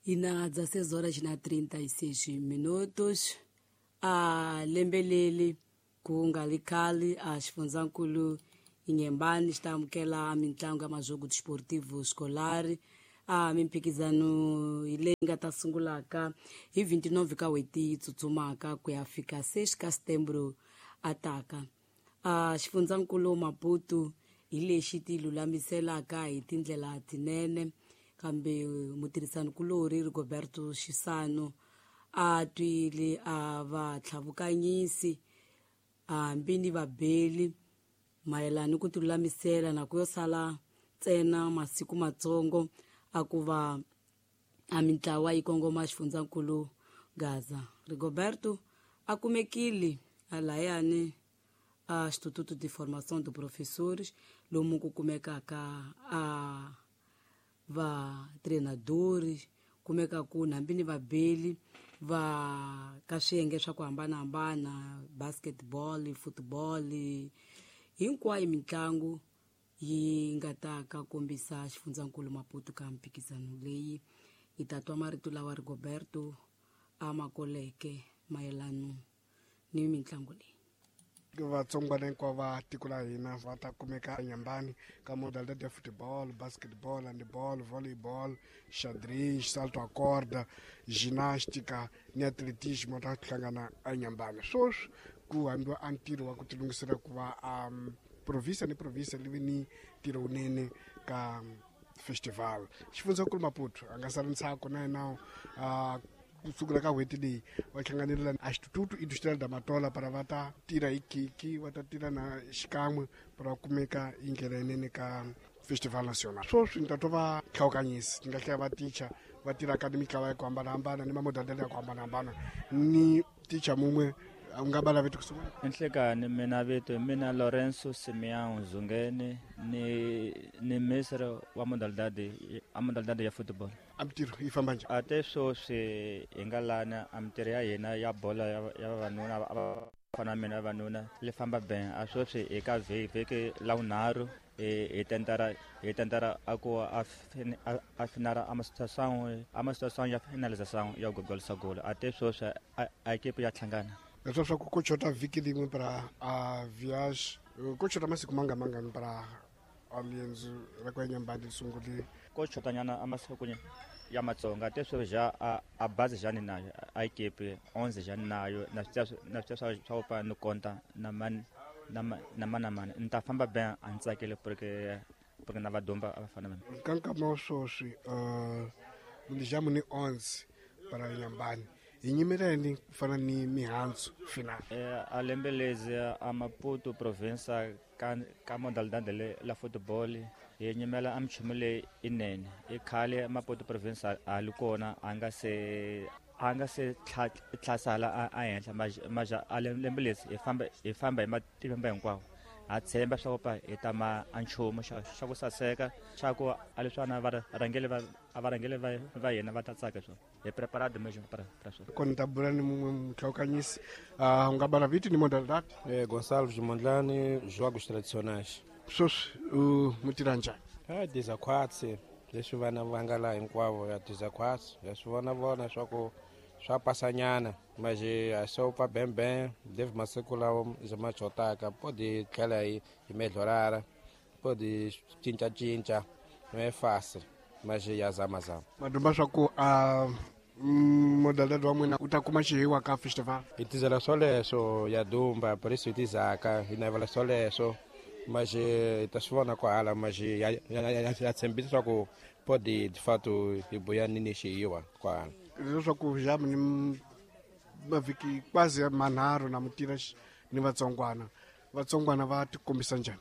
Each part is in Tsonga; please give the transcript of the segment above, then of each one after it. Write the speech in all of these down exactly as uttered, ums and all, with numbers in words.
E na dezesseis horas na trinta e seis minutos, a lembelele ku nga li khale a xifundzankulu Inhambane está amukela mintlangu ya majogo desportivo escolar a mimphikizano hi leyi nga ta sungulaka hi vinte e nove ka n'hweti yi tsutsumaka ku ya fika seis ka setembro a taka. A xifundzankulu Maputo hi lexi ti lulamiselaka hi tindlela tinene kambe mutirhisanikulorhi Rigoberto Xisano a twile a va tlhavukanyisi hambi ni vabeli mayelana ni ku tilulamisela na ku yo sala ntsena masiku matsongo a ku va a mintlawa yi kongoma xifundzankulu Gaza. Rigoberto a kumekile a layani a Instituto de Formação de Professores lomu ku kumekaka a va treinadores kumekaku hambi ni vabeli va ka swiyenge swa ku hambanahambana basketball, football, hinkwayo mitlangu yi nga ta ka kombisa xifundzankulu Maputo ka mphikizano leyi. Hi ta twa marito lawa Rigoberto a ma koleke mayelana ni mitlangu leyi. Vatsongwana hinkwavo va tiko la hina va ta kumeka eNyambani ka modalidade ya football, basketball, handball, volleyball, xadrez, salto a corda, ginástica ni atletismo ta hlangana eNyambani. Sweswi ku hambiwa a ntirho wa ku tilunghisela ku va um, província ni província li vi ni ntirho wunene ka festival. Xifundzankulu Maputo a nga sali ntsako na yena uh, kusukela ka n'hweti leyi va hlanganile a Instituto Industrial da Matola para va ta tirha hi khiki va ta tirha na xikan'we para va kumeka hi ndlela yinene ka festival national. Sweswi ni ta twa va hlawukanyisi ni nga hlaya va ticha va tirhaka ni mitlawa ya ku hambanahambana ni mamodalidade ya ku hambanahambana ni ticha mun'we u nga va laveti ku sungula. Enhlekani mina vito mina Lorenzo Simeão Zungeni ni ni ministre wa modalidade a modalidade ya football. A mintirho yi famba njhani? A te sweswi hi nga lana a mintirho ya hina ya bolo ya ya vavanuna a va fana mina vavanuna li famba ben a sweswi hi ka vhiki la vunharhu hi tentara hi tentara a ku a a finara a situação a situação ya finalização ya gol sa gol a te sweswi a equipe ya hlangana. Leswi swa ku ku chota vhiki rin'we para a viage ku chota masiku manga mangani para a riendzo ra ku ya Nyambani ri sungule? Ko chotanyana a masiku ya matsonga te sweswi ja a a bazi jani nayo a equipe onze jani nayo na swi na swi swa swa pa ni konta na man na na mana mana ni ta famba ben a ni tsakile porque porque na vadomba a va fana na mina. Ka nkama wa sweswi uh ni ni onze para Nyambani hi nyimeleni ku fana ni mihandzu final. Eh a lembe lezi a Maputo province ka ka modalidade le la football hi nyimela a minchumu leyi inene i khale Maputo province a li kona a nga se a nga se tlhasala a henhla maja a lembe lezi hi famba hi famba hi matimba hinkwawo ha tshemba swa ku pa hi ta ma a nchumu xa xa ku saseka xa ku a leswana va rhangele va a va rhangele va va yena va ta tsaka swona hi preparado mesmo para para swona. Kona ta bula ni mun'we muhlawukanyisi u nga bala vito ni modalidade? Eh Gonçalves Mondlane, jogos tradicionais. Sweswi u mu tirha njhani? Ah dezaquatro leswi vana va nga laha hinkwavo ya dezaquatro ya swi vona vona swa ku swa pasanyana mas a só pa bem bem deve masiku lawa ma chotaka pode tlhela hi hi melhorara pode cinca cinca não é fácil mas ya zama zama. Madumba swa ku a modalidade wa n'wina u ta kuma xihiwa ka festival? Hi tizela swoleswo ya dumba por isso hi tizaka hi navela swoleswo mas hi ta swi vona kwahala mas ya ya tshembisa swa ku pode de fato hi buya ni ni xihiwa kwahala. Leswaku jamu ni mavhiki quase manharhu na mutira ni vatsongwana vatsongwana va tikombisa njhani?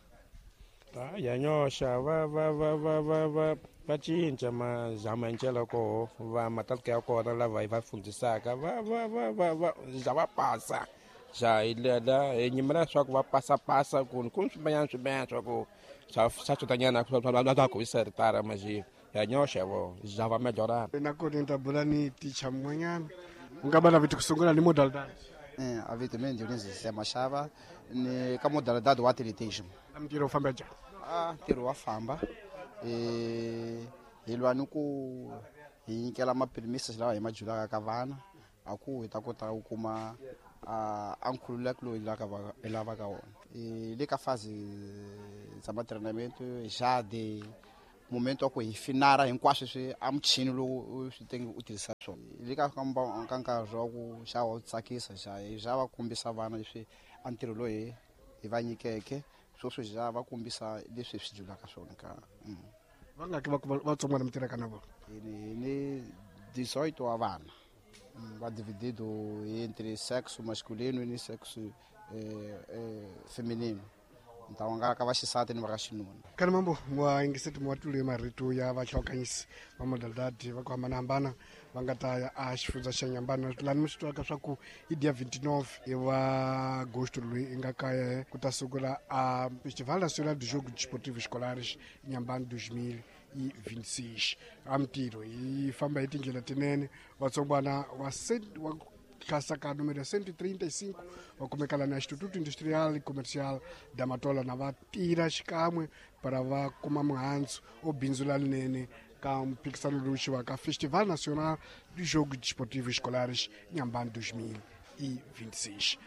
Ah ya nyoxa va va va va va va va cinca mazamancela koho va matalika ya kona lava hi va fundisaka va va va va va ja va pasa ja hi lela hi nyimela swa ku va pasa pasa ku ku swimanyana swimanyana swa ku swa swa chotanyana swa ku hi ritara mas ya nyoxa vo ja va melhorana. Na kona ni ta bula ni ticha mun'wanyana u nga va laviti ku sungula ni modalidade? Eh a vito mina Dionisio Zé Machava ni ka modalidade wa atletismo. A mintirho wu famba njhani? A ntirho wa famba eh hi lwa ni ku Hi nyikela mapirimisi lawa hi ma julaka ka vana a ku hi ta kota ku kuma a nkhululeko lowu hi lavaka wona. Le ka fase za matreinamento já de momento wa ku hi finara hinkwaswo leswi a muchini lowu swi tenge u tirhisa swona. Le ka ka nkarhi wa ku xa wa tsakisa xa xa va kombisa vana leswi a ntirho lowu hi hi va nyikeke sweswo xa va kombisa leswi hi swi julaka swona ka va nga ki vatsongwana mi tirhaka na vona. Hi ni dezoito wa vana va dividido entre sexo masculino ni sexo eh, eh, feminino. Então nga ka vaxisati ni va ka xinuna. Kana mambo wa yingiseti wa tule marito ya vahlokanyisi va modalidade va ku hambanahambana va nga ta ya a xifundza xa Nyambani. Lani mi swi twaka swa ku i dia vinte e nove wa agosto loyi i nga kaya ku ta sungula a Festival Nacional de Jogo Desportivo Escolares Nyambani dois mil e vinte e seis. A mintirho yi famba hi tindlela tinene. Vatsongwana wa wa klasa ka número cento e trinta e cinco va kumeka la na Instituto Industrial e Comercial da Matola na va tirha xikan'we para va kuma muhandzu o bindzu lalinene ka mphikisano lowu xiwaka Festival Nacional de Jogos Desportivos Escolares Inhambane dois mil e vinte e seis.